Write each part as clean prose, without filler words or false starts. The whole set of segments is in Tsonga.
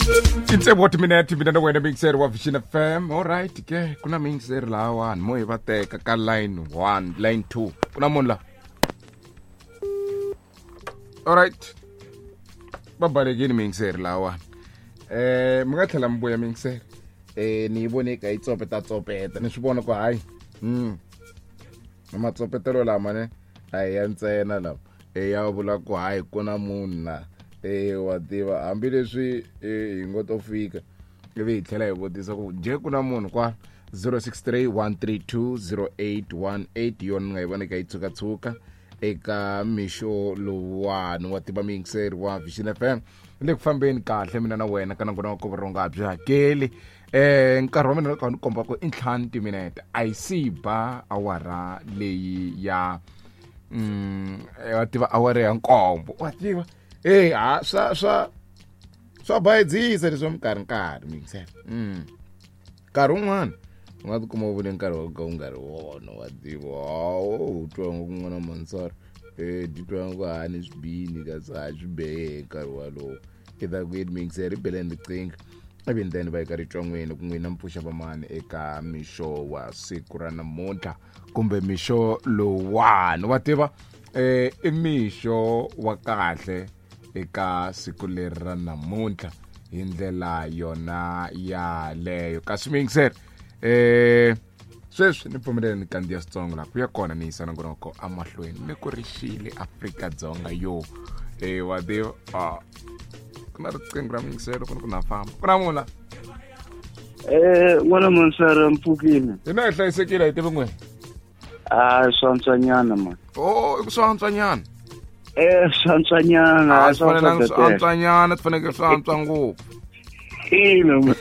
I tsevu wa timinete mina na wena mixer wa Vision FM. Alright ke ku na mixer lahawani mo hi va teka ka line 1 line 2 ku na munhu la. Alright va balekile mixer lahawani. Mi nga tlhela mi vuya mixer. Ni yi vone ka yi tsopeta tsopeta ni swi vona ku hayi. Matsopetelo lama ne a hi ya ntsena lama. Ya vula ku hayi ku na munhu la. Wa tiva hambileswi hi ngo to fika ivi hi tlhela hi vutisa ku je ku na munhu kwa 0631320818 yona ni nga yi vona ka yi tshukatshuka eka mixo lowuwani wa tiva miyingiseri wa Vision FM. Le ku fambeni kahle mina na wena ka nangona wa kovoronga byi hakeli. Nkarhi wa mina ka ni komba ku i 5 timinete a yi si ba awara leyi ya wa tiva awara ya 7 wa tiva. Ha swa bayizisa leswi minkarhi nkarhi miyingiseri. Nkarhi wun'wana u nga tikuma u vule nkarhi wa ka u nga ri wona wa tiva. U twa ngo kun'wana mansara titwa ngo ha ni swi bini kasi ha swi behe nkarhi walowo. I ta ku yini miyingiseri beleni riqingho ivi then va eka ritswan'wini ku n'wina mpfuxa vamani eka mixo wa siku ra namuntlha kumbe mixo lowuwani wa tiva. I mixo wa kahle eka siku leri ra namuntlha hi ndlela yona yaleyo. Kasi miyingiseri sweswi ni pfumelele ni kandziya switsongo laha ku ya kona ni yisa nongonoko amahlweni ni ku ri xile Afrika-Dzonga yo. Wa tiva ku na riqingho ra miyingiselo ku ni ku na famba ku na munhu la. N'wana Mansara mpfukile. Hina hi hlayisekile hi tivi n'wina. Swantswanyana man. Oh, i ku swantswanyana. Swantswanyana. A swi fanelanga swi antswanyana, swi fanekele swi antswa ngopfu. Ina.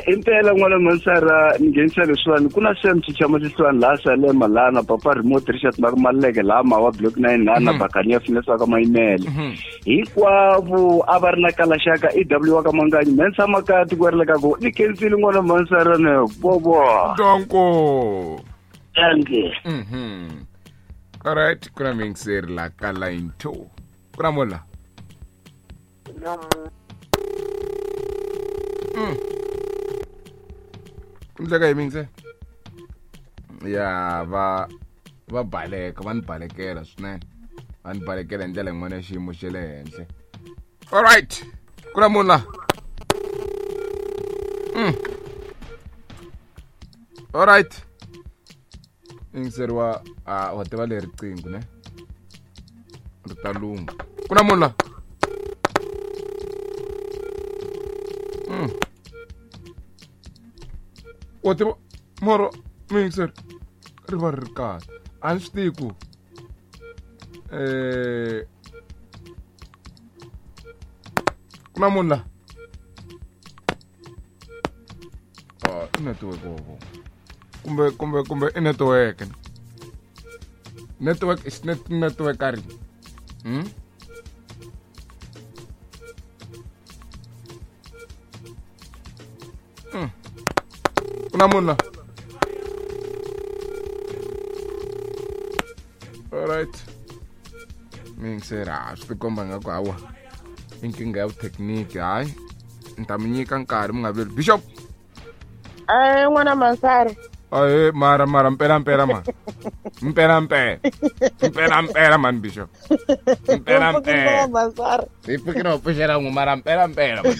Impela n'wana Mansara ni nghenisa leswiwani ku na Sam Chichama Xiswani laha Salema laha na Papa Remote Richard Maleke laha Mawa Block 9 laha na Bakania Finesse wa ka Mayimele. Hinkwavo a va ri na kalaxaka EW wa ka Manganyi Mensa Makati ku ri le ka ku ni khensile n'wana Mansara ne bobo. Danko. Danke. All right, ku na miyingiseri la ka line 2. Ku na munhu la. Ku ndleka hi miyingiseri. Ya va baleka, va ni balekela swinene. Va ni balekela hi ndlela yin'wana ya xiyimo xa le henhla. All right. Ku na munhu la. All right. Yingiseri wa wa tiva leri riqingho ne? Ri ta lungha. Ku na munhu la. Wa tiva moro miyingiseri ri va ri ri kahle. A ni swi tivi ku ku na munhu la. I network wo kumbe i network. Network is network ari. Ku na munhu la. All right. Miyingiseri a swi tikomba nga ku hawa i nkingha ya vuthekiniki. Hayi ni ta mi nyika nkarhi mi nga vileli. Bishop. N'wana Mansara. Ahe mara mpela mpela man. Mpela mpela. Mpela mpela man Bishop. Mpela mpela. Mansara. Hi pfukile wa pfuxela n'we mara mpela mpela man.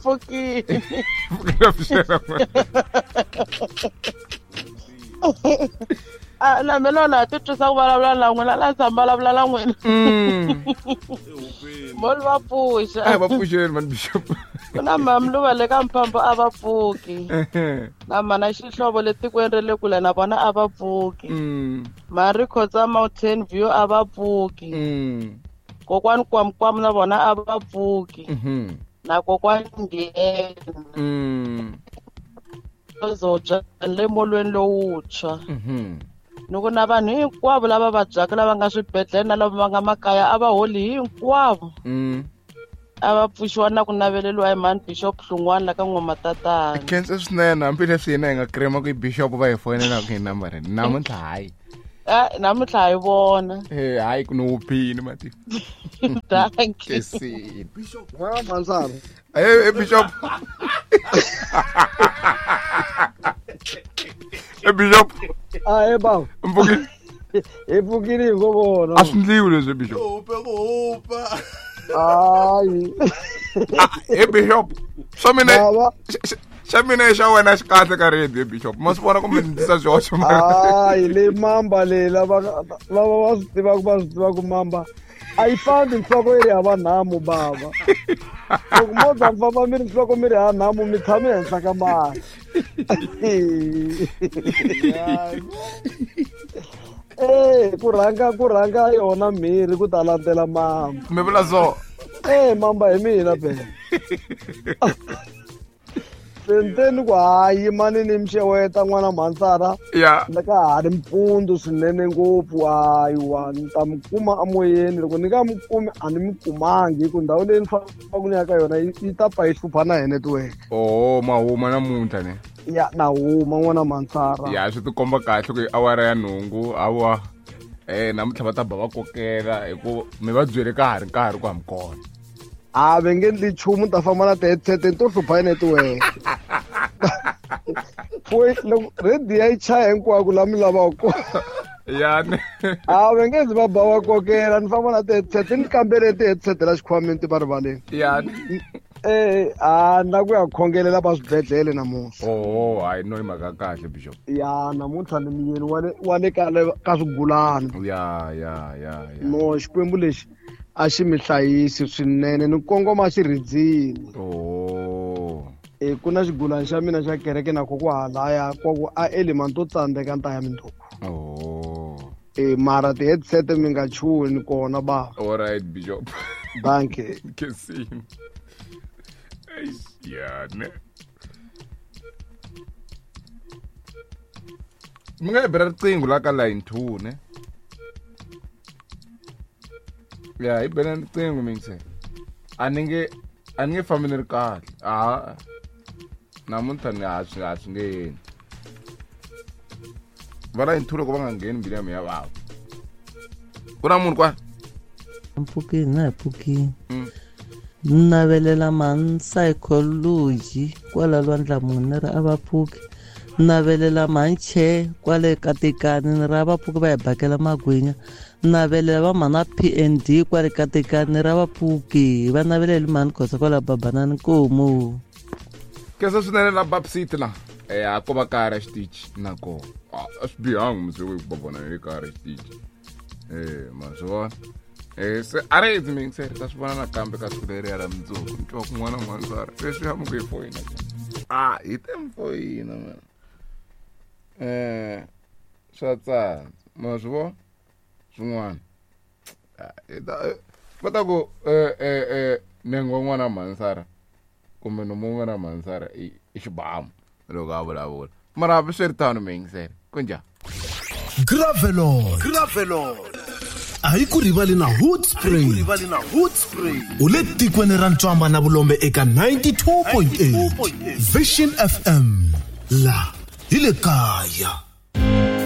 Pfukile. Pfukile pfuxela n'we. Na mina na ti twisa ku vulavula na n'wina la tshama vulavula na n'wina. Moli va pfuxa. A va pfuxeni man Bishop. Ku na mamluva le ka Mphambo a va pfuki. Na mana xihlovo le tikweni ra le kule na vona a va pfuki. Mari Khotsa Mountain View a va pfuki. Kokwani Kwamkwamu na vona a va pfuki. Na kokwani Nghena. Zobya le molweni lowuntshwa. Ni ku na vanhu hinkwavo lava vabyaka lava nga swibedhlele na lava va nga makaya a va holi hinkwavo. A va pfuxiwa na ku naveleriwa hi mhani Bishop Hlungwani la ka N'wamatatana. Khensa swinene hambileswi hina hi nga krema ku i Bishop va hi foyinelaka hi nambara namuntlha hayi. Namuntlha hi vona. Hayi ku ni wuphini mati. Thank you. Kesini. Bishop wa Mansara. Bishop. Bishop. Baba. Mpfukile. Hi pfukile hi ngo vona. A swi ndliwi leswi Bishop. Hupa. Hayi. Bishop. Swa mina. Xa mina xa wena xi kahle ka radio Bishop. Ma swi vona kumbe ni tisa swihoxo mara. Hayi le mamba le lava va swi tivaka va swi tivaka mamba. A yi fambi nhloko yi ri hava nhamu bava. Loko mo za mi famba mi ri nhloko mi ri hava nhamu mi tshame henhla ka mali. Ku rhanga yona mhiri ku ta landzela mamba. Mi vula so? Mamba hi mina phela. Senteni ku hayi mani ni mixeweta n'wana Mhansara. Ya. Na ka ha ri mpundzu swinene ngopfu hayiwa ni ta mi kuma emoyeni loko ni nga mi kumi a ni mi kumangi hi ku ndhawu leyi ni fambaka ni ya ka yona yi ta pfa yi hlupha na hi network. Oh mahuma namuntlha ne. Ya na huma n'wana Mhansara. Ya swi tikomba kahle ku i awara ya 8 hawa. Namuntlha va ta ba va kokela hi ku mi va byele ka ha ri nkarhi ku ha mi kona. A va nge ndli nchumu ta famba na ti-headset to hlupha hi network. Loko radio yi chaya hinkwako laha mi lavaka kona. Ya ne. A va nge zi va ba va kokela ni famba na ti-headset ni kambele ti-headset la xikhwameni ti va rivaleni. Ya ne. Na ku ya khongelela va swibedhlele namuntlha. Oh hayi no i mhaka kahle Bishop. Ya namuntlha ni muyeni wa le ka swigulana. Ya ya ya. No Xikwembu lexi a xi mi hlayisi swinene ni kongoma xirhidzini. Oh. Ku na xigulana xa mina xa kereke na ko ku halaya kwa ku a element to tsandzeka ni ta ya mindzuku. Oh. Mara ti-headset mi nga chuhi ni kona ba. All right Bishop. Dankie. Kesini. Ya ne. Mi nga bela riqingho la ka line 2 ne. Ya hi bela riqingho minse. A ni nge fambi ni ri kahle. A namuntlha ni a swi nge yeni. Va line 2 loko va nga ngheni mbilu ya mina ya vava. Ku na munhu kwala? Mpfukini na hi pfukini. Navelela man psychology kwala lwandla munhu ri a va pfuki. Navelela manche kwale katekani ni ra va pfuki va hi bakela magwinya. Navelela va mana PND kwale katekani ra va pfuki va naveleli mani khosa kwala babanani nkomu. Kesa swinene la Bab City la. A ko va kaya ra xitichi na kona. A swi bihangi musi ku va vona hi kaya ra xitichi. Ma swi vona. Se a ri edzi mingiseri ta swi vona nakambe ka siku leriya ra mundzuku. Ni twa kun'wana Mhansara leswi ya mi ku hi foyina. Hi te mi foyina man. Swa tsandza ma swi vona swin'wana. Va ta ku nenge wa n'wana Mhansara kumbe nomu wa n'wana Mhansara i xibamu loko a vulavula. Mara hambi swi ri tano mingiseri kunjhani? Gravelon. A yi ku rivali na Hood Spring. U le tikweni ra Ntswamba na Vulombe eka 92.8 Vision FM. La hi le kaya.